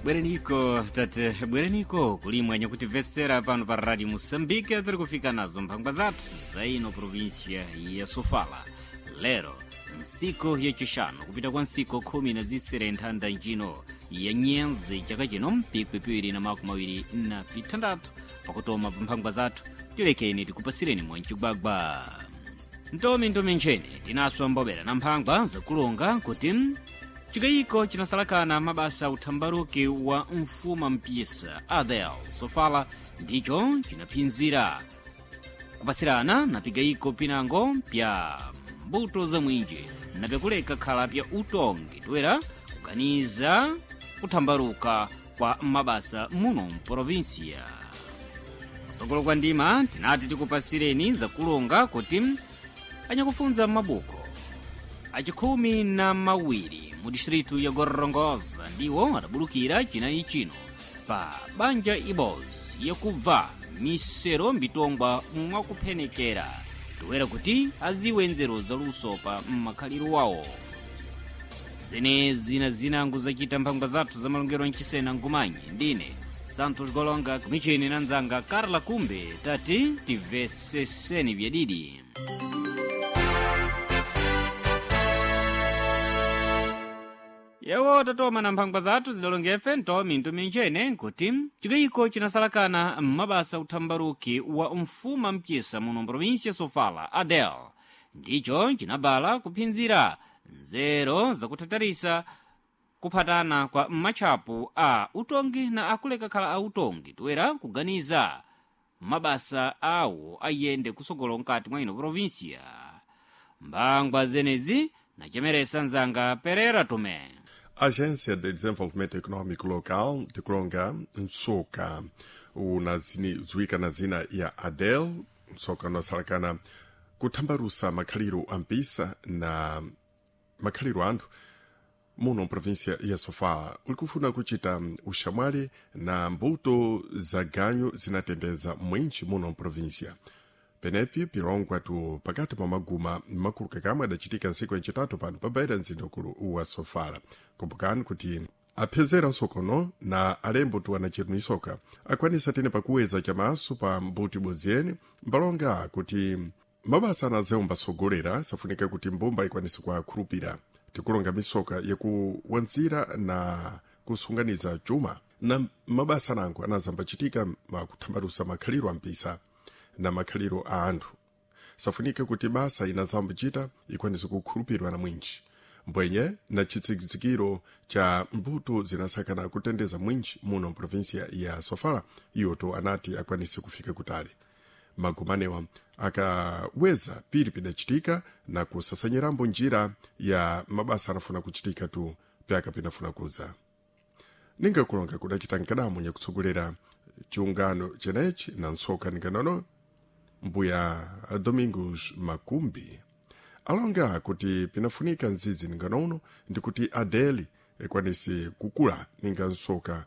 Bwereniko tate, bwereniko kulimwa nyakutimvetsera pano pa Radio Moçambique tiri kufika nazo mphangwa zathu za ino província ya Sofala. Lero nsiku yacixanu kupita kwa nsiku 16 nthanda njino ya nyenzi chaka chino mpikwi 2026 pakutoma pa mphangwa zathu tilekeni tikupasireni mwancigwagwa ntomi ntomi nchene tinaswa mbobera na mphangwa zakulonga kuti chikayiko chinasalakana mabasa a uthambaruki wa mfuma mpisa Adel Sofala ndicho chinaphinzira kupasirana na pigayiko pinango pya mbuto za mwinji na pyakuleka khala pya utongi toera kuganiza kuthambaruka kwa mabasa muno mprovinsia. Kusogolo kwa ndima tinati tikupasireni zakulonga kuti anyakufunza m'mabuko achikhumi na mawiri mu distritu ya Gorongosa ndiwo adabulukira chinayi chino pa banja ibos yakubva misero mbitongwa mwakuphenekera toera kuti aziwe nzeru zaluso pa mmakhaliro wawo. Zenezi na zinango zachita mphangwa zathu za malongero mchisena nkumanyi ndine Santos Golonga kumicheni na nzanga Carla Kumbe tati timveseseni byadidi. Yewo tatoma na mphangwa zathu zidalongefe ntomi ntomi nchene nkuti chikayiko chinasalakana m'mabasa uthambaruki wa mfuma mchisa muno provinsia Sofala Adel ndicho chinabala kuphinzira nzero zakuthatarisa kuphatana kwa matchapu a utongi na akuleka khala a utongi toera kuganiza mabasa awo ayende kusogolo mkati mwa ino provinsia. Mbangwa zenezi nachemeresa nzanga Perera Tomé. Agência de Desenvolvimento Econômico Local de Kronga, Nsoka, zuika na zina ya Adel, Nsoka nosalakana kuthambarusa makhaliro ampisa na makhaliro anthu muno mprovíncia ya Sofala ulikufuna kuchita uxamwali na mbuto za ganyu zinatendeza mwinji muno mprovíncia. Penepi pilongwa tu pakati pa maguma makulu kakamwe adachitika ntsiku yacitatu pano pabaira mzinda ukulu wa Sofala. Kumbukani kuti aphezera nsokono na alembo tu anachirunisoka akwanisa tene pakuweza chamaso pa mbuto ibodzi yene mbalonga kuti mabasa anazewo mbasogolera safunika kuti mbumba ikwanise kuakhulupira. Tikulonga misoka yakuwanzira na kusunganiza chuma na mabasa anango anazambachitika makuthambalusa makhaliro ampisa na makhaliro a anthu. Safunika kuti basa inazambichita ikwanise kukhulupirwa na mwinji mbwenye na chitsikitsikiro cha mbuto zinasakana kutendeza mwinji muno mprovinsia ya Sofala iyoto anati akwanise kufika kutali. Magumanewa akaweza piri pidachitika na kusasanyirambo njira ya mabasa anafuna kuchitika tu pyaka pinafuna kuza. Ningakulonga kudachita nkadamu nyakutsogolera chiungano chenechi na ntsoka ninganono mbuya Domingos Makumbi alonga kuti pinafunika nzizi ninganono ndikuti Adeli ikwanise kukula ninga nsoka.